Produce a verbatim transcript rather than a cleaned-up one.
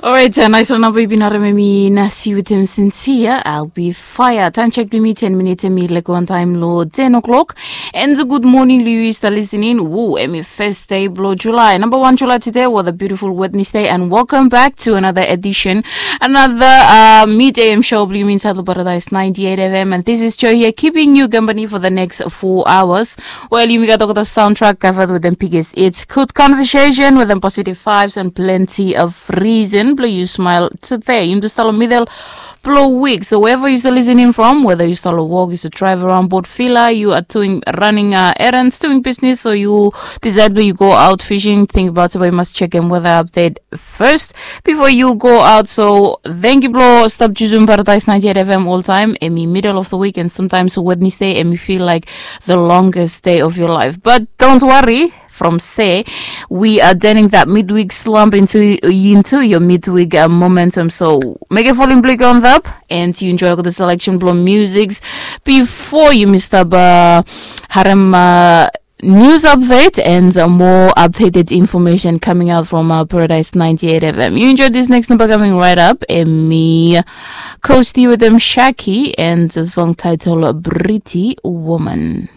Orait, nais ol namba yu bin harem em i Nasi wetem Cynthia, I'll be fire. Taem chek blong yumi ten minits em i lego wantaem long ten o'clock. And good morning long yu i stap listening. Wu, em i first day blong July, number one July today with a beautiful Wednesday, and welcome back to another edition, another uh, mid A M show blong yumi inside long Paradise ninety-eight F M, and this is Joy here keeping you company for the next four hours. Well, yumi gat olgeta soundtrack covered with them biggest hits, good conversation with them positive vibes and plenty of reason blong yu smile today. Yumi tu stap long middle blong wik. So wherever yu stap listening from, whether yu stap long wok, yu stap drive around Port Vila, you are doing running uh, errands, doing business, or you decide blong yu go out fishing, think about it, but you must check them weather update first before you go out. So thank you blong stap jusum Paradise ninety-eight F M all time. Em i middle of the week and sometimes Wednesday em i feel like the longest day of your life. But don't worry, from se we are turning that midweek slump into into your midweek uh, momentum. So make a falling blick on up and you enjoy the selection blong musics before you miss up uh, harem uh, news update and uh, more updated information coming out from uh, Paradise ninety-eight F M. You enjoy this next number coming right up. Em i Coasty with them Shaki and a song titled Pretty Woman.